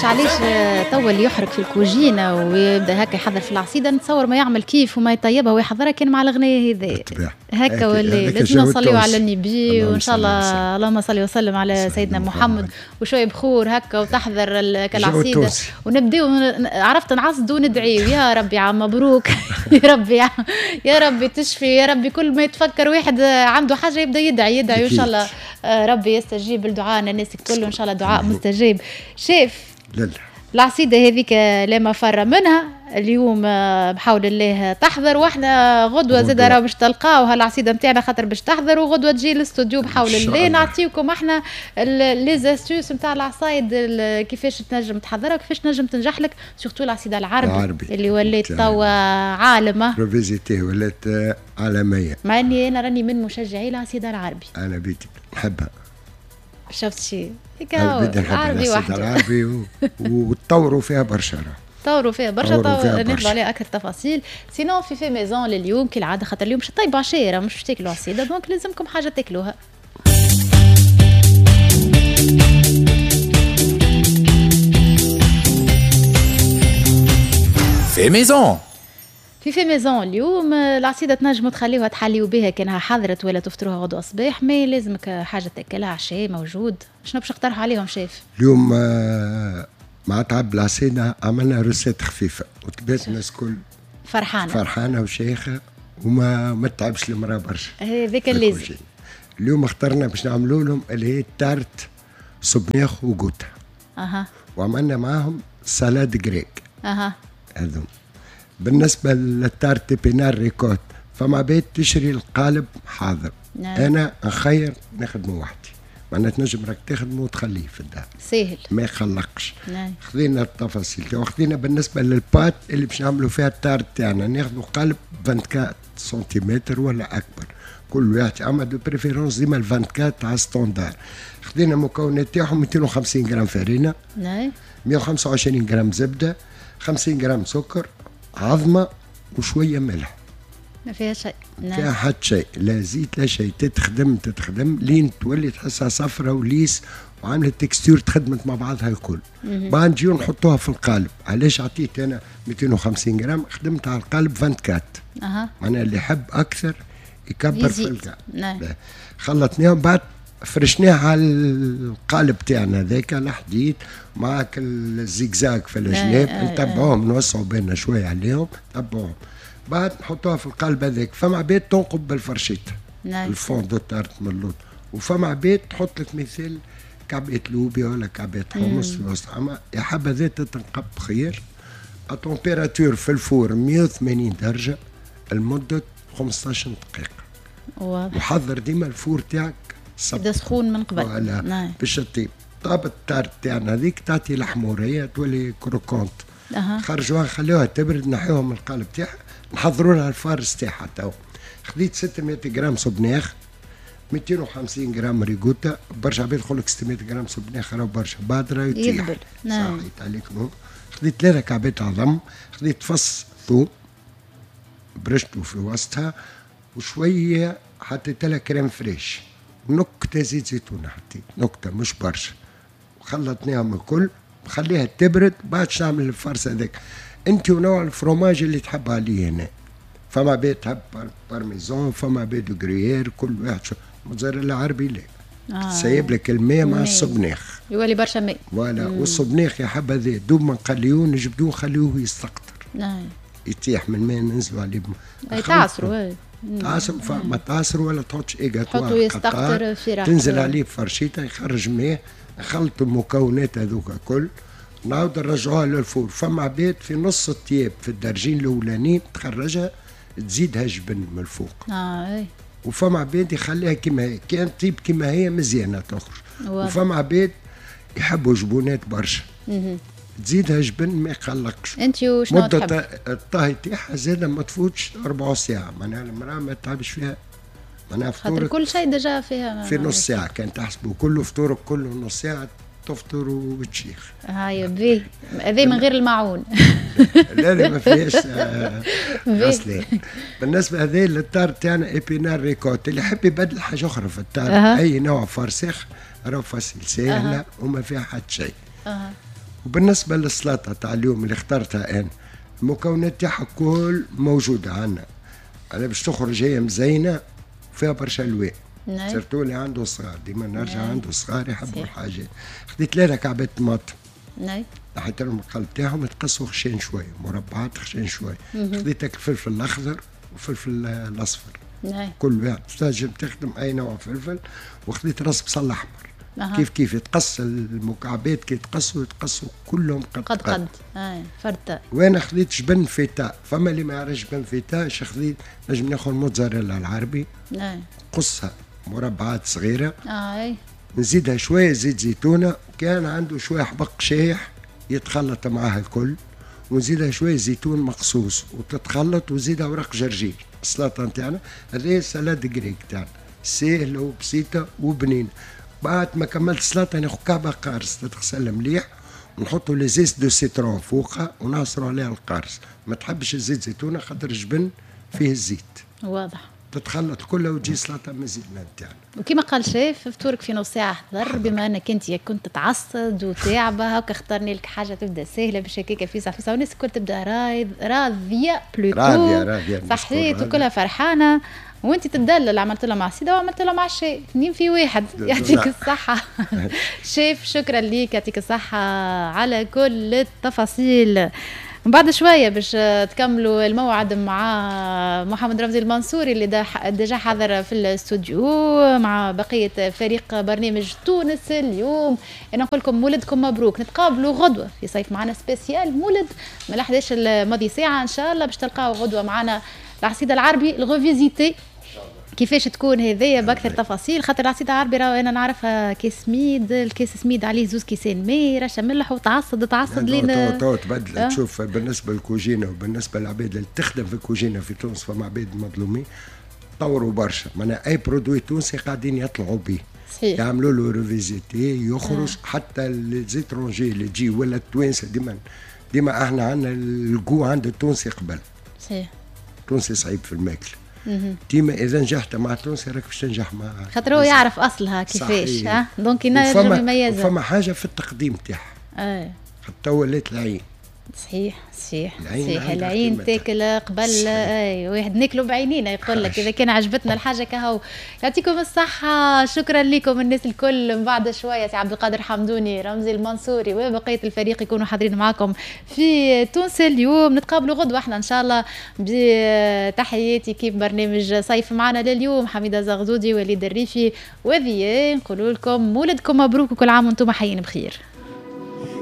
فهمتش علاش توا اللي يحرك في الكوجينه ويبدا هكا يحضر في العصيده، نتصور ما يعمل كيف وما يطيبها ويحضرها كان مع الغنية هذه هكا، ولا لازم نصليو على النبي وان شاء الله اللهم صل وسلم على سيدنا محمد، وشوية بخور هكا وتحضر العصيده ونبداو عرفت نعصدوا وندعيو يا ربي عام مبروك يا ربي يا ربي تشفي يا ربي. كل ما يتفكر واحد عنده حاجة يبدا يدعي يدعي، وان شاء الله ربي يستجيب لدعائنا الناس الكل، وان شاء الله دعاء مستجاب. شيف لا العصيده هذيك لا مفر منها اليوم بحول الله تحضر، واحنا غدوه زاد راه باش تلقاو هالعصيده نتاعنا خاطر باش تحضر، وغدوه تجي للاستوديو بحول الله نعطيكم احنا les astuces نتاع العصايد كيفاش تنجم تحضرها وكيفاش تنجم تنجح لك، surtout العصيده العربي اللي ولات توا عالمه revisitée ولات عالمية. مع اني انا راني من مشجعي العصيده العربي، انا بيتي نحبها. شفت شي هيك العربي وحده العربي وتطوروا فيها برشا، طوروا فيها برشا، ناخذوا عليها اكثر تفاصيل. sinon في fait maison لليوم كالعادة، خاطر اليوم باش طيبوا عشيره مش باش تاكلوا عصيده، donc لازمكم حاجة تاكلوها. fait maison في fait maison اليوم العصيده تنجموا تخليوها تحليو بها كانها حضرت ولا تفطروها غدوه الصباح، mais لازمك حاجة تاكلها عشاء موجود. شنو باش نقترح عليهم شيف؟ اليوم مع تعب العصيده عملنا recette خفيفة وتبات الناس الكل فرحانة فرحانة وشيخه وما ما تعبش المراة برشا، هذاك اللازم. اليوم اخترنا باش نعملوا لهم اللي هي tarte سبناخ وقوتا. اها. وعملنا معاهم salade grecque. اها. هذوم. بالنسبة لل tarte épinards ricotta فما بيت تشري القالب حاضر. نعم. انا نخير نخدمه وحدي، معناها تنجم راك تخدمه وتخليه في الدار ساهل ما يخلقش. نعم. خذينا التفاصيل وخذينا بالنسبة لل pâte اللي باش نعملوا فيها ال tarte تاعنا، ناخذوا قالب 24 سنتيمتر ولا اكبر كل واحد، اما de préférence ديما 24 تاع standard. خذينا المكونات تاعهم 250 غرام فرينه، نعم، 125 غرام زبدة، 50 غرام سكر، عظمه وشوية ملح. ما فيها شيء. نعم. فيها حتى شيء، لا زيت لا شيء، تتخدم تتخدم لين تولي تحسها صفرة و lisse وعامله texture تخدمت مع بعضها الكل. بعد نجيو نحطوها في القالب. علاش عطيت انا 250 غرام؟ خدمت على القالب 24. اها. معناها اللي يحب اكثر يكبر في القالب. نعم. خلطناهم بعد فرشناها على القالب تاعنا هذاك الحديد معك الزيكزاك في الجناب، نتبعوهم نوسعوا بالنا شوية عليهم، نتبعوهم بعد نحطوها في القالب هذاك. فما عباد تنقب بالفرشيطه. نعم. ال fond de tarte من اللوط، وفما عباد تحط لك مثال كعبة لوبيا ولا كعبة حمص في وسط، اما يا حبذا تتنقب خير. température في ال four 180 درجه لمدة 15 دقيقة. واضح. وحضر ديما ال four تاعك يبدا سخون من قبل. نعم. باش تطيب. طابت ال tarte تاعنا هذيك تعطي الحموريه تولي croquante. خرجوها خلوها تبرد، نحيوها من القالب تاعها، نحضروا لها ال farce تاعها. تو خذيت 600 غرام سبناخ، 250 غرام ريغوتا، برشا عباد يقول لك 600 غرام سبناخ راهو برشا، بعد راه يطيح. نعم. صحيت عليكم. خذيت 3 كعبات عظم، خذيت فص ثوم برشته في وسطها، وشوية حطيت لها crème fraîche، نكتة زيت زيتون حطيت نكتة مش برشا، وخلطناهم الكل، خليها تبرد. بعد نعمل ال farce هذاك انت ونوع الفروماج اللي تحب عليه هنا. فما بيت تحب بارميزون، فما بيت gruyère، كل واحد شو. موتزاريلا عربي لا. تسيب لك الماء مع الصبناخ يولي برشا ماء. voilà. والصبناخ يا حبذا دوب ما نقليوه نجبدوه نخليوه يستقطر. نعم. يطيح من الماء ننزلوا عليه. تعصروا تعصر، ما تعصر ولا تحطش égouttoir، تحطو يستقطر في راحته، تنزل عليه بفرشيطه يخرج ماء. نخلطوا المكونات هذوك الكل، نعاود نرجعوها لل four. فما عباد في نص الطياب في الدرجين الاولانيين تخرجها تزيدها جبن من الفوق. اي. وفما عباد يخليها كما هي، كان طيب كما هي مزيانه تخرج. وفما عباد يحبوا جبونات برشا. تزيدها جبن ما يقلقش. انت وشنو تحب؟ مدة الطهي تاعها زاده ما تفوتش ربع ساعة، معناها المرأة ما تعبش فيها، معناها فطورك كل شيء déjà فيها في نص ساعة كان تحسبوا كله فطورك كله نص ساعة تفطر وتشيخ. هاي بيه هذا من غير المعون. لا لا ما فيهاش غسلان. بالنسبة هذا لل tarte تاعنا épinards ricotta، اللي يحب يبدل حاجة أخرى في ال tarte، أي نوع farce راهو facile ساهلة وما فيها حتى شيء. وبالنسبة للسلطة تاع اليوم اللي اخترتها انا، المكونات تاعها كل موجودة عندنا، انا باش تخرج هي مزينة فيها برشا الوان. surtout اللي عنده صغار، ديما نرجع عنده صغار يحبوا الحاجات. خديت 3 كعبات طماطم. نحيت لهم القلب تاعهم، تقصوا خشين شوية، مربعات خشين شوية. خديت الفلفل الاخضر والفلفل الاصفر. كل واحد تنجم تخدم اي نوع فلفل. وخديت راس بصل احمر. كيف كيف يتقص المكعبات، كي يتقصوا كلهم قد قد قد. فرد. وانا خديت جبن فيتا، فما اللي ما يعرفش جبن فيتا، اش خديت؟ نجم ناخذ موتزاريلا العربي. قصها مربعات صغيرة. نزيدها شوية زيت زيتونه، كان عنده شوية حبق شايح يتخلط معاها الكل، ونزيدها شوية زيتون مقصوص وتتخلط، وزيدها ورق جرجير. السلطة نتاعنا هذه salade grecque تاعنا، سهلة وبسيطة وبنينه. بعد ما كملت السلطة ناخذ كعبه قارص تتغسل مليح، ونحطوا les zestes de citron فوقها ونعصروا عليها القارص. ما تحبش الزيت زيتونه خاطر الجبن فيه الزيت. واضح. تتخلط كلها وتجي سلطة مزيانه نتاعنا. وكما قال شيف، فطورك في نص ساعة حضر، بما انك انت كنت تعصد وتعبه هكا اخترني لك حاجة تبدا سهلة باش هكاك فيسع فيسع، والناس الكل تبدا راضية plutôt، راضية صحيت وكلها فرحانة، وانت تدلل. عملت لهم عصيده وعملت لهم عشاء، 2 في 1. يعطيك الصحة شيف، شكرا ليك، يعطيك الصحة على كل التفاصيل. من بعد شوية باش تكملوا الموعد مع محمد رمزي المنصوري اللي déjà حاضر في الاستوديو مع بقية فريق برنامج تونس اليوم. انا نقول لكم مولدكم مبروك، نتقابلوا غدوه في صيف معنا spécial مولد من 11 الماضي ساعة ان شاء الله، باش تلقاو غدوه معنا العصيده العربي ال revisitée، كيفاش تكون هذيا باكثر تفاصيل. خاطر العصيده العربي راه انا نعرفها كيس سميد، الكيس سميد عليه 2 كيسان ماء، رشه ملح، وتعصد تعصد لين تو تبدل. تشوف بالنسبة للكوجينه وبالنسبة للعباد اللي تخدم في الكوجينه في تونس، فما عباد مظلومين طوروا برشا، معناها اي produit تونسي قاعدين يطلعوا به. صحيح. يعملوا له revisité يخرج. حتى les étrangers اللي تجي ولا التوانسة، ديما احنا عندنا الجو عند التونسي قبل. صحيح. التونسي صعيب في الماكلة. ديما اذا نجحت مع التونسي راك باش تنجح مع، خاطر هو يعرف اصلها كيفاش. ها donc ينجم يميزها. فما حاجة في التقديم تاعها. حتى ولات العين. صحيح صحيح صحيح، العين تاكل قبل. اي واحد ناكلوا بعينينا يقول لك اذا كان عجبتنا الحاجة كهو. يعطيكم الصحة، شكرا لكم الناس الكل. من بعد شوية سي عبد القادر حمدوني، رمزي المنصوري وبقية الفريق يكونوا حاضرين معكم في تونس اليوم. نتقابلوا غدوه احنا ان شاء الله بتحياتي كيف برنامج صيف معنا لليوم، حميده زغزودي، وليد الريفي وذيان. نقولوا لكم مولدكم مبروك وكل عام وانتم حيين بخير.